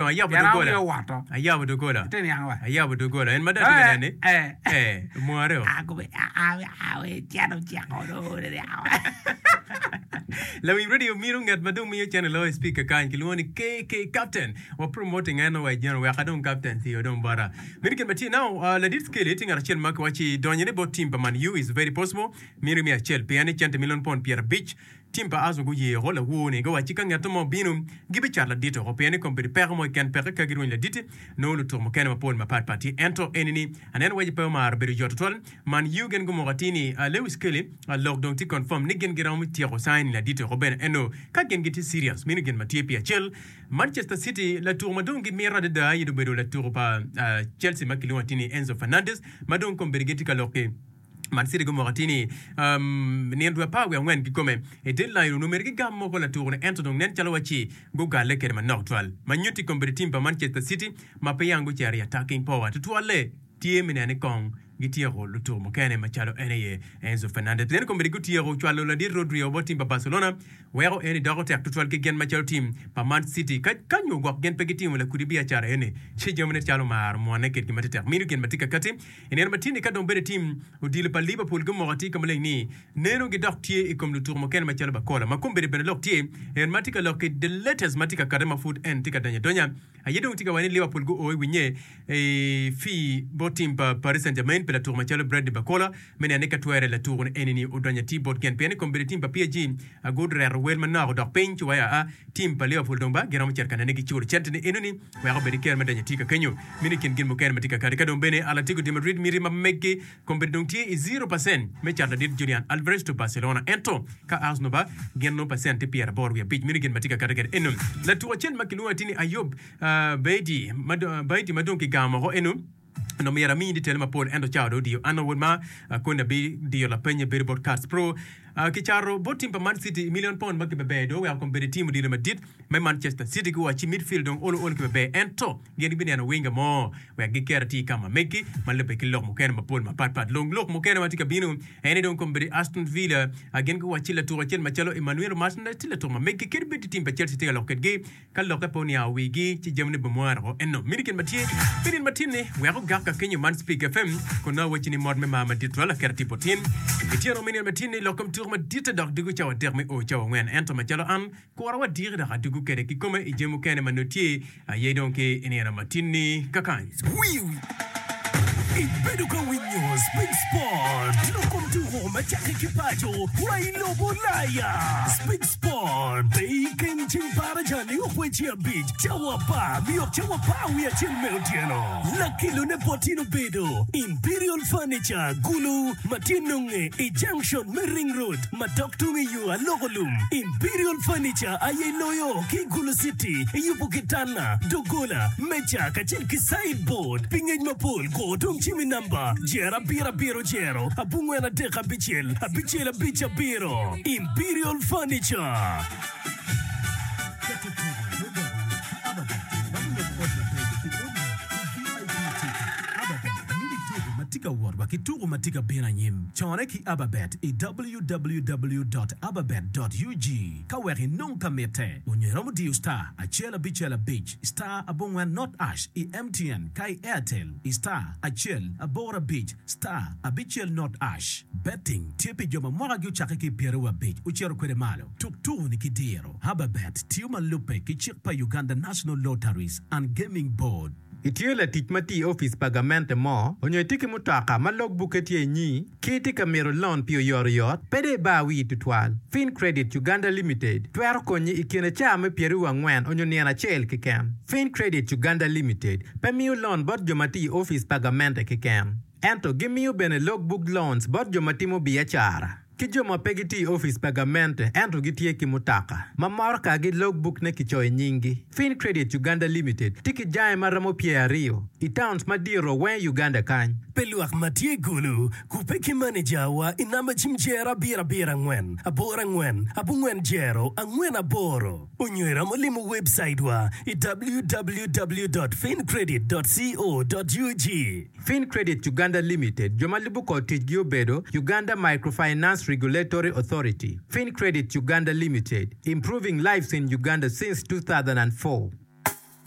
ayabo Pien an doggola. wiya owoto. Ayabo doggola. Ite niang wa. Ayabo doggola. En ma dong atye ka Eh, neni. eh. Eh, mware o. Ah, kome, ah, ah, ah, we ceno ceko do, de niang wa. Lawiny radio mito ngat ma dong miyo cene loyo i speaker kany kilwongo ni KK Captain. Wa promoting en wa i jeno wek adong captain tiyo dong bota. Meno gin ma tye now, uh, ladit Skelly tye ngat acel ma kiwaci donyone bot team pa Man U is very possible. Mino mi acel pien ni cente milion pon 50 Tim pa Arsenal guye oko lawor-ni, guwacci ka ngat mo obino, gibicato ladit oko pien ni kombeddi peko mo keken peke ka girwenyo ladit-ti, nongo lutuko mukene mapol mapat pat tye. Ento eni-ni aneno waci pe omaro bedo yot tutwal. Man U gin gumoko atir ni Lewis Kelly lok dong tye confirm ni gin giromo tyeko signing ladit-ti oko bene ento ka gin gitye serious meno gin ma tye pi acel. Manchester City latuko ma dong gimito adada aye obedo latuko pa Chelsea ma kilwongo atir ni Enzo Fernandez ma dong kombeddi gitye ka lok ki Man City gumoko atir ni nino dwe 14 kikome i deadline onongo myero gigam moko latuko-ni ento dong nen calo wacci gugalle kwede manok twal. Ma nyutti kombeddi tim pa Manchester City ma pe yang gucito i attacking power tutwalle tye me neno ni kong gityeko lutuko mukene macalo en aye Enzo Fernandez. Pien kombeddi gutyeko cwalo ladit Rodri bot tim pa Barcelona weko eni doko tek tutwal ki gin macalo tim pa Man City. Ka ka nyo gwok gin pe gitimo lakudi biacara eni ci jamine calo omaro mwone kitgi matetek. Mino gin ma tye kakati. I nino matin-ni ka dong bedo tim odilo pa Liverpool gumoko atir ka maleng ni neno gi dok tye i kom lutuku mukene macalo Barcola ma kombeddi bene lok tye en ma tye ka lok ki the latest ma tye ka kate ma pud en tye ka donyo adonya aye dong tye ka waco ni Liverpool guo i winye i fee bot tim pa Paris Saint Germain pi latuku macalo Bradley Barcola me neno ni ka twere latuku ni eni ni odonyo atir bot gen pien ni kombeddi tim pa PSG gureto wel manok odok piny ci waya a Tim pa Liverpool dong ba giromo cito ka nene ki culo cente ni enoni wek obed ki kero me donyo i tye ka kenyo. Meno i kin gin mukene ma tye ka kati. Ka dong bene Atletico de Madrid miti ma meggi kombeddi dong tye i zero pacent me cato ladit Julian Alvarez to Barcelona ento ka Arsenal ba gin nongo pacent tye 85. Meno gin ma tye ka kati kede eno. Latuko acel ma kilwongo atir ni Ayob Baidi ma dong kigamo woko eno. Onongo myero amiyi ditele mapol ento cawa dong odiyo. An wod ma koni abidiyo lapenye bedo bot Cats Pro. Kicato bot tim pa Man City i million pound ma kibeber dong oweko kombeddi tim odilo madit me Manchester City guwacci midfield dong olo olo kibeber ento gin gibineno winga mo wek giket atir ka ma megi ma lubbe ki lok mukene mapol mapat pat. Long lok mukene ma tye ka bino en ni dong kombeddi Aston Villa gin guwacci latuko acel macalo Emmanuel Martinez tye latuko ma megi kadi bed tim pa Chelsea tye ka lok kedgi Ka lokke pe oniango wigi, ci jamine bimwaro woko. Ento mini gin ma tye pi nino matin-ni, wek ogak ka kenyo man Spik FM, kun nongo awacci ni mot me mar madit twal aketo tipo tin. Ityeno me nino matin-ni, lok kom tuko maditte dok dugo cawa adek me o cawa angwen. Ento macalo an, kura wa diki dok adugo kwede kikome i jami mukene ma nongo tye aye dong ki i nino matin-ni kakany. Ibedo ka winyo Spik Sport, lok kom tuko ma cakke ki paco wa i lobo Ulaya. Spik Sport, pe ikeng ceng baraja nio kweci abic, cawa apar nio cawa apar wiye acel me otyeno. Lakelone bot in obedo Imperial Furniture Gulu ma tye nonge i junction me Ring Road ma dok tung i yo Aloko Lum. Imperial Furniture aye loyo ki i Gulu City i yubo kitanda, doggola, meja kacel ki sideboard. Pi ngec mapol, go dong cim i namba jer abiro abiro jero abongwen adek abicel abicel abic abiro. Imperial Furniture. Keto tuko me gogo ki Ababet romo lubo ot mabeco pi odi ki VIP ticket. Ababet mini tuko ma tye ka wot wa ki tuko ma tye ka bino anyim. Cone ki Ababet i www dot ababet dot ug ka wek inong ka mitte. Onyo iromo diyo star acel abicel abic star abongwen not ash i MTN ka i Airtel i star acel aboro abic star abicel not ash. Betting tye pi jo ma mwakagi ocakke ki i pyeraryo abic ocito kwede malo. Tuk tuko-ni ki diro. Ababet tiyo ma lubbe ki cik pa Uganda National Lotteries and Gaming Board. Itye latic ma tiyo i opic pa gamente mo, onyo itye ki mutoka ma log bukke tye inyi, ki itye ka mito lon pi oyotoyot, pe dong ibar wii tutwal. Fincredit Uganda Limited twero konyi i kine caa me pyeraryo angwen onyo nino acel keken. Fincredit Uganda Limited pe miyo lon bot jo ma tiyo i opic pa gamente keken, ento gimiyo bene log book loans bot jo ma timo biacara. Ki jo ma pe gitye i opic pa gamente ento gitye ki mutoka ma motokagi logbukne kicoyo i nyinggi. Fincredit Uganda Limited tye ki jange ma romo pyeraryo i towns madito weng i Uganda kany. Pi lwak ma tye i Gulu, kubbe ki manejawa i namba cim jero abiro abiro angwen aboro angwen abongwen jero angwen aboro onyo iromo limo webcaitwa i www dot fincredit dot co dot ug. Fincredit Uganda Limited, jo ma lubo kor ticgi obedo, Uganda Microfinance Regulatory Authority, Fincredit Uganda Limited, Improving lives in Uganda since 2004.